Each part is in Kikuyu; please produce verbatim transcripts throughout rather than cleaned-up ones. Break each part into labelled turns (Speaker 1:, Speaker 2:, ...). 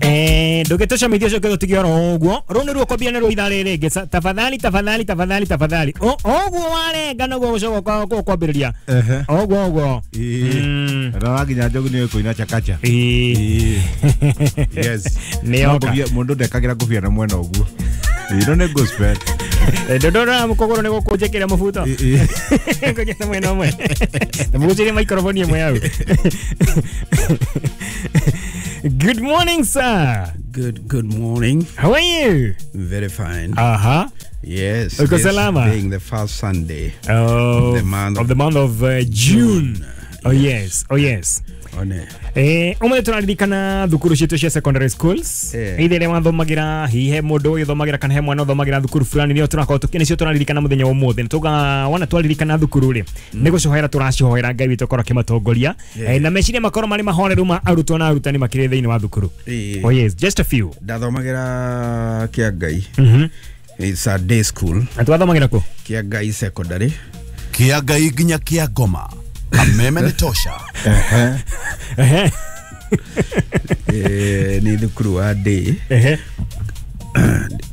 Speaker 1: Eh, ndũgĩtũcamithia ũcio ũkĩtũtigia oro ũguo rũu nĩruo kwambia nĩruo ithaa rĩrĩ rĩngĩ. Tafadhali tafadhali tafadhali tafadhali, ũguo warenga noguo gũcoka kwambĩrĩria ũguo ũguo.
Speaker 2: Na nginya njogu nĩ kũina chakacha. Yes,
Speaker 1: nĩyoka
Speaker 2: mũndũ ndekagĩra ngũbia na mwena ũguo. Ĩno nĩ gospel.
Speaker 1: Ndondora mukogoro nĩ gũkũnjĩkĩra mũbuto ngũnjĩte mwena ũmwe na mũgũcĩrie microphone ĩmwe hau. Good morning, sir.
Speaker 3: Good good morning.
Speaker 1: How are you?
Speaker 3: Very fine.
Speaker 1: Uh-huh.
Speaker 3: Yes.
Speaker 1: Uko salama?
Speaker 3: Being the first Sunday
Speaker 1: of,
Speaker 3: of the month
Speaker 1: of, the month of uh, June. June. Oh yes. Oh yes.
Speaker 3: One.
Speaker 1: Eh, ũmũthĩ tũraririkana thukuru citũ cia secondary schools. Either ĩrĩa wathomagĩra, hihi he mũndũ ũgĩthomagĩra kana he mwana ũthomagĩra thukuru fulani, nĩyo tũrakorwo tũkĩ nĩcio tũraririkana mũthenya wa ũmũthĩ. Nĩtũga wona twaririkana thukuru rĩ, nĩ gũcohera tũracihoera Ngai witũ akorwo akĩmatongoria na meciria makorwo marĩ mahoreru ma arutwo na arutani makĩrĩ thĩinĩ wa thukuru. Oh yes, just a few.
Speaker 3: Ndathomagĩra Kĩangai.
Speaker 1: Mhm.
Speaker 3: It's a day school.
Speaker 1: Na twathomagĩra kũ?
Speaker 3: Kĩangai secondary.
Speaker 4: Kĩangai nginya Kĩangoma. Kameme ni tosha.
Speaker 3: Ehe.
Speaker 1: Ehe.
Speaker 3: Eh, ni thukuru wa day.
Speaker 1: Ehe.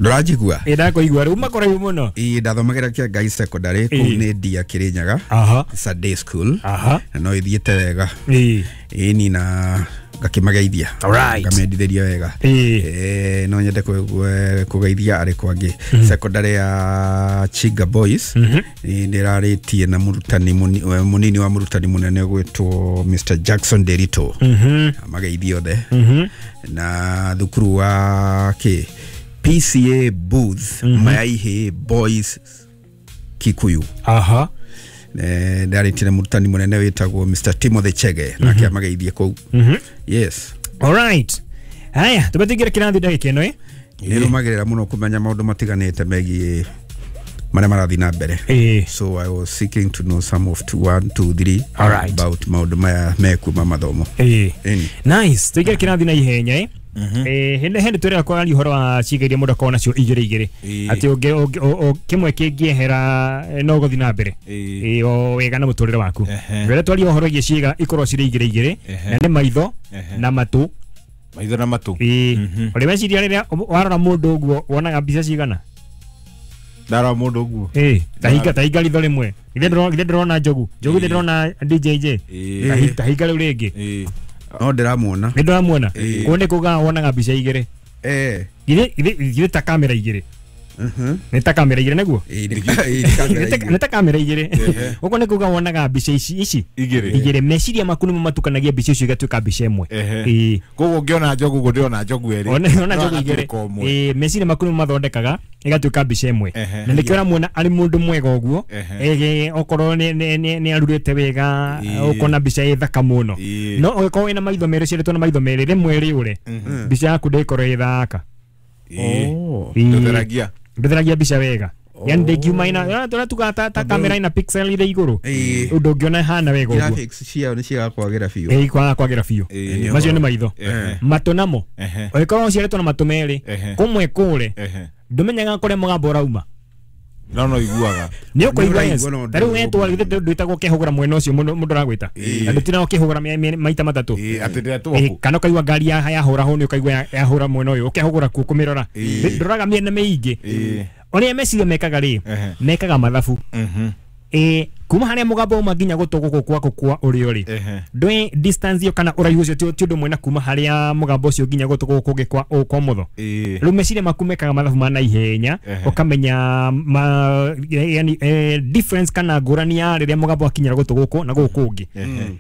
Speaker 3: Ndũranjigua?
Speaker 1: Ĩ ndakũigua rĩu makũraihu mũno.
Speaker 3: Ĩ ndathomagĩra Kĩangai secondary kũu nĩ Ndia Kĩrĩnyaga.
Speaker 1: Aha.
Speaker 3: It's a day school.
Speaker 1: Aha.
Speaker 3: Na no ĩthiĩte wega.
Speaker 1: Ĩ.
Speaker 3: Ĩ ni na ngakimageithia.
Speaker 1: Alright.
Speaker 3: Ngamendithĩria wega.
Speaker 1: Ĩ.
Speaker 3: Eh, no nyende kũgeithia arĩ kwangĩ. Secondary ya Chiga Boys. Nĩ ndĩrarĩtie na mũrutani mũnini wa mũrutani mũnene gwĩtwo Mister Jackson Derito.
Speaker 1: Mhm.
Speaker 3: Amageithie othe.
Speaker 1: Mhm.
Speaker 3: Na thukuru wa kĩ P C A Booth Mayaihe Boys Kikuyu.
Speaker 1: Aha.
Speaker 3: Eh, ndarĩtie na mũrutani mũnene wĩtagwo Mister Timothy Chege nake amageithie kũu. Yes.
Speaker 1: All right. Haya, tũbetingĩre kĩrathi ndagĩka ĩno ĩ.
Speaker 3: Nĩrũmagĩrĩra mũno kũmenya maũndũ matiganĩte megiĩ marĩa marathiĩ na mbere. So I was seeking to know some of two, one, two, three
Speaker 1: All right.
Speaker 3: about maũndũ maya mekuma mathomo.
Speaker 1: Ĩ. Nice. Tũingĩre kĩrathi na ihenya ĩ. Eh, hĩndĩ hĩndĩ tũrĩa kwaria ũhoro wa ciĩga iria mũndũ akoragwo nacio igĩrĩ igĩrĩ atĩ kĩmwe kĩngĩehera no gũthiĩ na mbere ĩ o wega na mũtũrĩre waku. Rĩrĩa twaria ũhoro wĩgiĩ ciĩga ikorwo cirĩ igĩrĩ igĩrĩ na nĩ maitho na matũ.
Speaker 2: Maitho na matũ.
Speaker 1: Ĩ ũrĩ weciria rĩrĩa warora mũndũ ũguo wonaga mbica cigana?
Speaker 2: Ndarora mũndũ ũguo.
Speaker 1: Ĩ tahinga tahinga ritho rĩmwe. Githĩ ndĩrona njogu. Njogu ndĩrona D J J. Tahinga rĩu rĩngĩ.
Speaker 3: No ndĩramuona.
Speaker 1: Nĩ ndĩramuona. Kũu nĩ kuga wonaga mbica igĩrĩ.
Speaker 3: Eh.
Speaker 1: Githĩ githĩ ta kamera igĩrĩ.
Speaker 3: Mhm.
Speaker 1: Nĩ ta kamera igĩrĩ nĩguo?
Speaker 3: Nĩ
Speaker 1: ta kamera igĩrĩ. Ũguo nĩ kuga wonaga mbica ici ici
Speaker 2: igĩrĩ.
Speaker 1: Igĩrĩ. Meciria maku nĩmo matukanagia mbica icio igatuĩka mbica ĩmwe.
Speaker 2: Ĩ. Koguo ũngĩona njogu ũguo ndĩrona njogu ĩrĩ.
Speaker 1: Ona njogu igĩrĩ. Ĩ meciria maku nĩmo mathondekaga igatuĩka mbica ĩmwe. Na nĩkĩo ũramuona arĩ mũndũ mwega ũguo. Ĩ okorwo nĩ nĩ arurĩte wega ũkona mbica ĩ thaka mũno. No ũngĩkorwo wĩna maitho merĩ ciarĩtwo na maitho merĩ rĩmwe rĩũre mbica yaku ndĩkorwo ĩ thaka.
Speaker 2: Oh. Ndũtheragia.
Speaker 1: Ndũtheragia mbica wega. Yani ndĩngiuma ina tũrĩa tugaga ta ta kamera ina pixel irĩ igũrũ. Ũndũ ũngĩona ĩhana wega ũguo.
Speaker 3: Graphics ciao nĩ ciaga kwagĩra biũ.
Speaker 1: Ĩ kwaga kwagĩra biũ. Macio nĩ maitho. Matũ namo. Ũngĩkorwo ũciarĩtwo na matũ merĩ kũmwe kũre ndũmenyaga kũrĩa mũgambo ũrauma.
Speaker 2: No no iguaga.
Speaker 1: Nĩ ũkũigua yes. Ta rĩu wetwo githĩ ndwĩtagwo ũkĩhũgũra mwena ũcio mũndũ ũragwĩta. Na ndũtindaga ũkĩhũgũra maita matatũ.
Speaker 2: Atĩ ndĩretwo kũ?
Speaker 1: Kana ũkaigua ngari yahũra hũni ũkaigua yahũra mwena ũyũ ũkehũgũra kuo kũmĩrora. Ndũroraga mĩena mĩingĩ. Ũrĩa meciria mekaga rĩ, mekaga mathabu. Ĩ kuma harĩa mũgambo uma nginya gũtũ gũkũ gwaku kwa ũrĩo rĩ, ndũĩ distance ĩyo kana ũraihu ũcio ti ũndũ ũmwe na kuma harĩa mũgambo ũcio nginya gũtũ gũkũ kũngĩ kwa kwa mũtho. Rĩu meciria maku mekaga mathabu ma naihenya ũkamenya yani difference kana ngũrani ya rĩrĩa mũgambo wakinyĩra gũtũ gũkũ na gũkũ kũngĩ.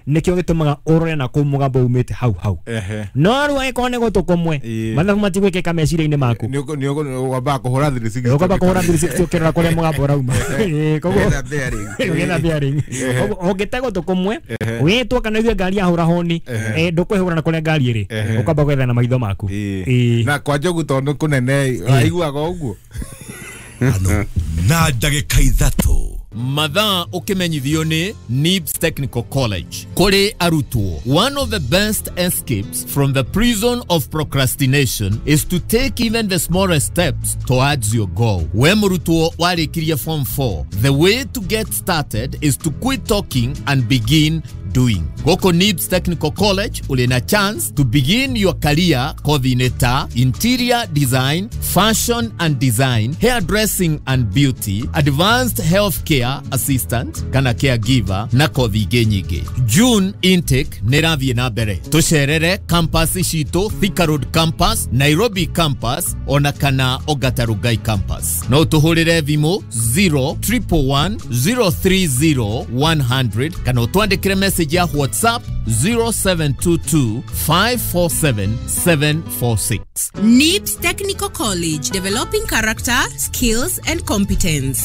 Speaker 1: Nĩkĩo gĩtũmaga ũrore na kũu mũgambo umĩte hau hau. No rĩu angĩkorwo nĩ gũtũ kũmwe mathabu matigwĩkĩka meciria-inĩ maku.
Speaker 2: Nĩ ũkwamba kũhũra three sixty.
Speaker 1: Ũkwamba kũhũra three sixty ũkĩrora kũrĩa mũgambo ũrauma. Koguo ũgetha bearing. Ũngĩte gũtũ kũmwe wĩtwo kana ũigue ngari yahũra honi ndũkwĩhũra na kũrĩa ngari ĩrĩ ũkamba gwetha na maitho maku.
Speaker 2: Na kwa njogu tondũ kũnene aiguaga ũguo.
Speaker 4: Na ndagĩka ithatũ
Speaker 5: Mathaa ũkĩmenyithio nĩ Nibs Technical College. Kũrĩ arutwo, one of the best escapes from the prison of procrastination is to take even the smallest steps towards your goal. We mũrutwo warĩkirie form four, the way to get started is to quit talking and begin doing. Gũkũ Nibs Technical College ũrĩ na chance to begin your career kothi-inĩ ta interior design, fashion and design, hairdressing and beauty, advanced healthcare assistant kana caregiver na kothi ingĩ nyingĩ. June intake nĩ ĩrathiĩ na mbere. Tũcerere campus citũ, Thika Road campus, Nairobi campus ona kana Ongata Rongai campus. No tũhũrĩre thimũ zero triple one zero three zero one hundred kana ũtwandĩkĩre message ya WhatsApp zero seven two two five four seven seven four six.
Speaker 6: Nibs Technical College, developing character, skills and competence.